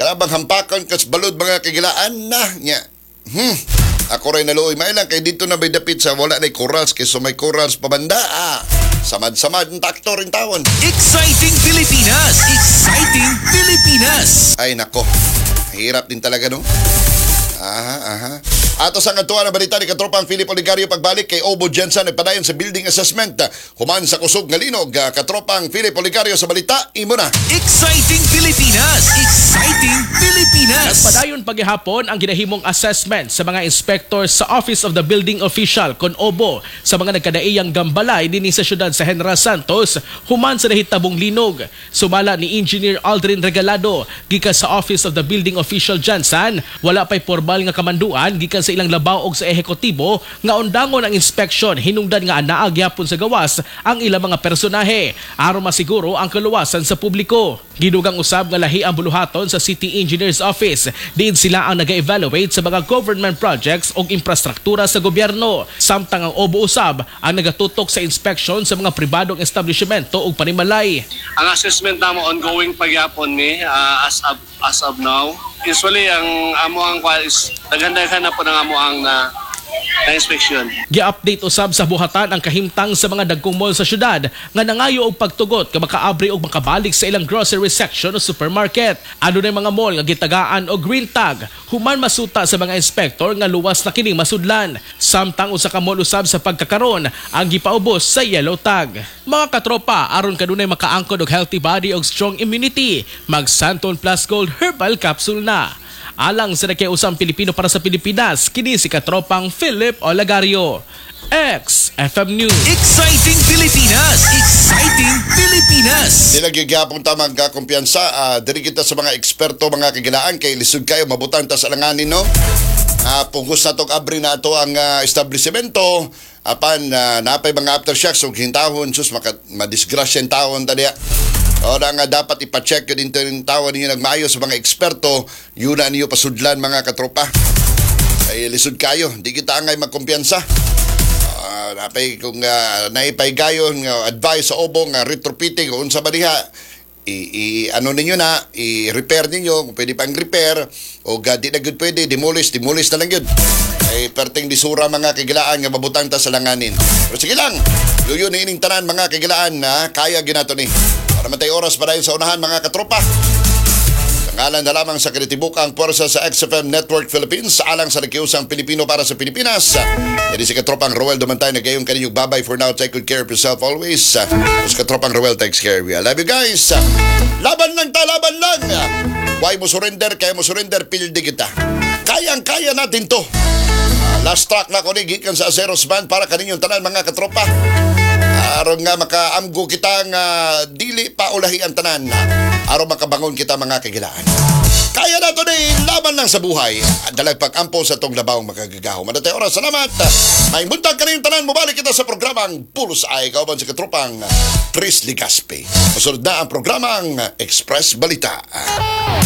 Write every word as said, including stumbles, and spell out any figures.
Kanabang hampakan kas balod, mga kagilaan na nya. Hmm. Ako rin naluoy mailang kay dito na may dapit sa wala na corals kay so may corals pabanda. Ah, samad-samad ang taktor rin tawon. Exciting Pilipinas! Exciting Pilipinas! Ay nako. Hirap din talaga, no? Aha, aha. Ato sa katuwa na balita ni Katropang Philip Oligario pagbalik kay Obo Jensen, nagpadayon sa building assessment. Human sa kusog nga linog, Katropang Philip Oligario sa balita, imo na. Exciting Pilipinas! Exciting Pilipinas! Nagpadayon paghihapon ang ginahimong assessment sa mga inspector sa Office of the Building Official kon OBO sa mga nagkadaiyang gambalay dinhi sa syudad sa General Santos human sa nahitabong linog. Sumala ni Engineer Aldrin Regalado gikan sa Office of the Building Official Jansan, wala pa'y formal nga kamanduan gikan sa ilang labaw og sa ehekutibo nga undangon ang inspection hinungdan nga anaa gyapon sa gawas ang ilang mga personahe aron masiguro ang kaluwasan sa publiko. Gidugang usab nga lahi ang buluhaton sa City Engineers Office diin sila ang naga-evaluate sa mga government projects o infrastruktura sa gobyerno. Samtang ang OBO usab ang nagatutok sa inspection sa mga pribadong establishmento ug panimalay. Ang assessment namo ongoing pagyapon ni ah, as of as of now. Usually ang amo ang kwa is daghan-daghan na po ng amo ang na, na inspection. Gi-update usab sa buhatan ang kahimtang sa mga dagkong mall sa syudad nga nangayo og pagtugot nga makaabri og makabalik sa ilang grocery section o supermarket. Adunay mga mall nga gitagaan og green tag human masuta sa mga inspektor nga luwas na kining masudlan. Samtang usa ka mall usab sa pagkakaron ang gipaubos sa yellow tag. Mga katropa, aron kanunay makaangkon og healthy body og strong immunity, mag Santon Plus Gold Herbal Capsule na. Alang sa nakiusang Pilipino para sa Pilipinas, kini si katropang Philip Olagario. X F M News. Exciting Pilipinas! Exciting Pilipinas! Dili gyapon ta magkakumpiyansa, uh, diri kita sa mga eksperto, mga kagilaan, kay lisod kayo mabutang ta sa alanganin, no? Ah, pugos na tong abri na ato ang ah, establishmento apan uh, napay mga aftershocks ug hintahon, sus, maka madisgrasya ang tawon ta diya. O na nga dapat ipa-check yun dito yung tawa ninyo nagmaayo sa mga eksperto, yun na niyo pasudlan, mga katropa. Kay lisod kayo, di kita angay magkumpiyansa. Uh, napay kung uh, naipay gayon nga advice sa OBO nga retrofitting o unsa ba diha, i, i ano ninyo na i-repair ninyo kung pwede pang repair o ga, di na gud pwede, demolish demolish na lang yun, ay perting disura, mga kagilaan, nga mabutang ta sa langanin. Pero sige lang, yuyo ni ining tanan, mga kagilaan, na kaya ginato ni para matay oras pa sa unahan, mga katropa. Ngalan na lamang sa kinatibukang puwersa sa X F M Network Philippines, alang sa nakiusang Pilipino para sa Pilipinas. Yan si Katropang Roel Domantay, nagayong kaninyong babay for now. Take good care of yourself always. Tapos Katropang Roel takes care of you. I love you guys. Laban lang ta, laban lang. Why mo surrender? Kaya mo surrender, pildi kita. Kayang-kaya natin to. Ah, last track na ko ni gikan sa Aceros Band para kaninyong tanan, mga katropa. Aron nga makaamgo kita nga dili pa ulahi ang tanan. Aron makabangon kita, mga kagilaan. Kaya na to ni, laban lang sa buhay. Dalag pag-ampo sa tong labawng makagagaho. Madatay oras, salamat. May buntag kaninyong tanan, mubalik kita sa programang Pulos ay kauban sa katropang Chris Ligaspi. Masunod na ang programang Express Balita.